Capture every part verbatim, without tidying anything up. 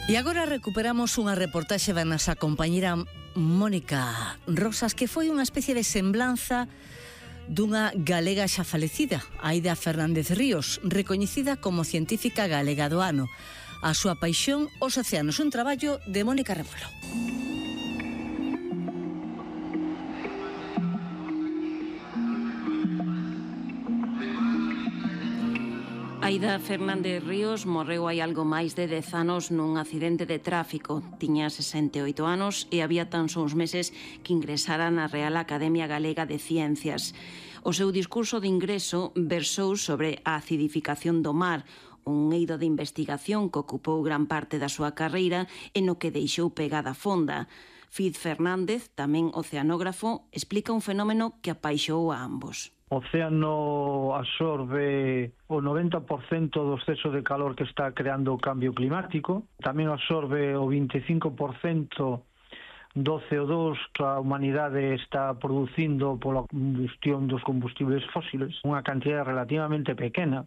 E agora recuperamos unha reportaxe da nosa compañera Mónica Rosas, que foi unha especie de semblanza dunha galega xa falecida, Aida Fernández Ríos, recoñecida como científica galega do ano. A súa paixón, os océanos, un traballo de Mónica Rebolo. Aida Fernández Ríos morreu hai algo máis de dez anos nun accidente de tráfico. Tiña sesenta e oito anos e había tan só uns meses que ingresara na Real Academia Galega de Ciencias. O seu discurso de ingreso versou sobre a acidificación do mar, un eido de investigación que ocupou gran parte da súa carreira e no que deixou pegada fonda. Fiz Fernández, tamén oceanógrafo, explica un fenómeno que apaixou a ambos. O océano absorbe o noventa por cento do exceso de calor que está creando o cambio climático, tamén absorbe o vinte e cinco por cento do C O dos que a humanidade está producindo pola combustión dos combustibles fósiles, unha cantidad relativamente pequena,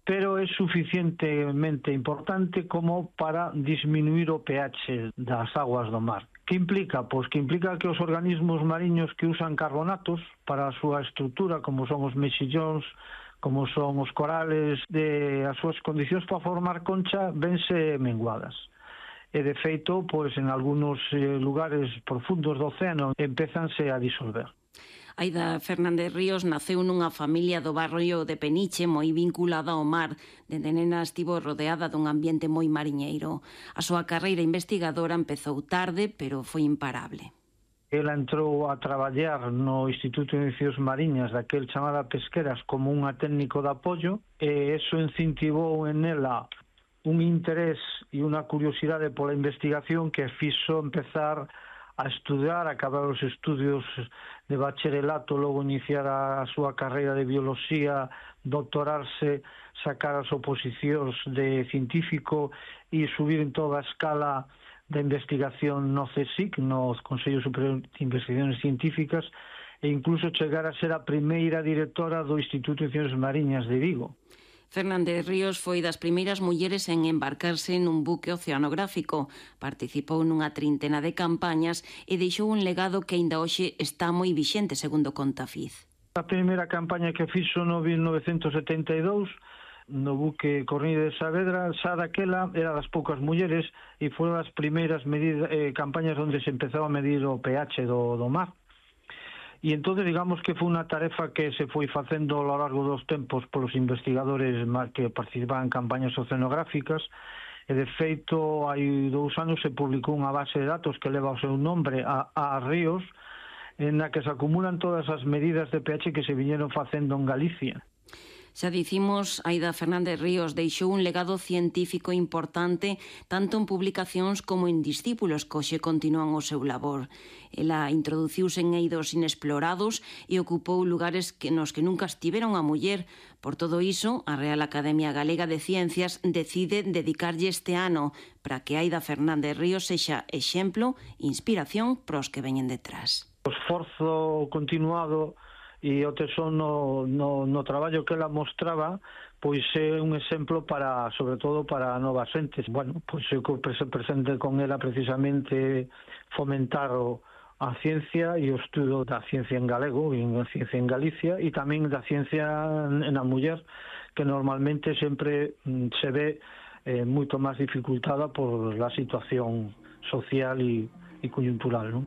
pero é suficientemente importante como para disminuir o pH das aguas do mar. Que implica? Pois que implica que os organismos mariños que usan carbonatos para a súa estrutura, como son os mexillóns, como son os corales, de as súas condicións para formar concha, vense menguadas. E de feito, pois en algúns lugares profundos do océano empezanse a disolver. Aida Fernández Ríos naceu nunha familia do barrio de Peniche moi vinculada ao mar. Dende nena estivo rodeada dun ambiente moi mariñeiro. A súa carreira investigadora empezou tarde, pero foi imparable. Ela entrou a traballar no Instituto de Ciencias Mariñas daquel chamada Pesqueras como unha técnico de apoio e eso incentivou en ela un interés e unha curiosidade pola investigación que fixo empezar a estudar, acabar os estudios de bacharelato, logo iniciar a súa carreira de bioloxía, doctorarse, sacar as oposicións de científico e subir en toda a escala da investigación no C S I C, no Consello Superior de Investigaciones Científicas, e incluso chegar a ser a primeira directora do Instituto de Ciencias Mariñas de Vigo. Fernández Ríos foi das primeiras mulleres en embarcarse nun buque oceanográfico. Participou nunha trintena de campañas e deixou un legado que aínda hoxe está moi vixente, segundo conta Fiz. A primeira campaña que fixo no mil novecentos setenta e dous no buque Cornide de Saavedra, xa daquela era das poucas mulleres e foron as primeiras medidas, eh, campañas onde se empezou a medir o pH do, do mar. E entón, digamos que foi unha tarefa que se foi facendo ao largo dos tempos polos investigadores que participaban en campañas oceanográficas e, de feito, hai dous anos se publicou unha base de datos que leva o seu nombre a, a Ríos, en na que se acumulan todas as medidas de pH que se viñeron facendo en Galicia. Xa dicimos, Aida Fernández Ríos deixou un legado científico importante tanto en publicacións como en discípulos que hoxe continúan o seu labor. Ela introduciuse en eidos inexplorados e ocupou lugares que nos que nunca estivera unha muller. Por todo iso, a Real Academia Galega de Ciencias decide dedicarlle este ano para que Aida Fernández Ríos sexa exemplo e inspiración pros que veñen detrás. O esforzo continuado e o tesón no, no, no traballo que ela mostraba, pois é un exemplo para, sobre todo para novas xentes. Bueno, pois eu que presente con ela precisamente fomentar o, a ciencia e o estudo da ciencia en galego e a ciencia en Galicia e tamén da ciencia na muller, que normalmente sempre se ve eh, moito máis dificultada por la situación social e, e coyuntural, non?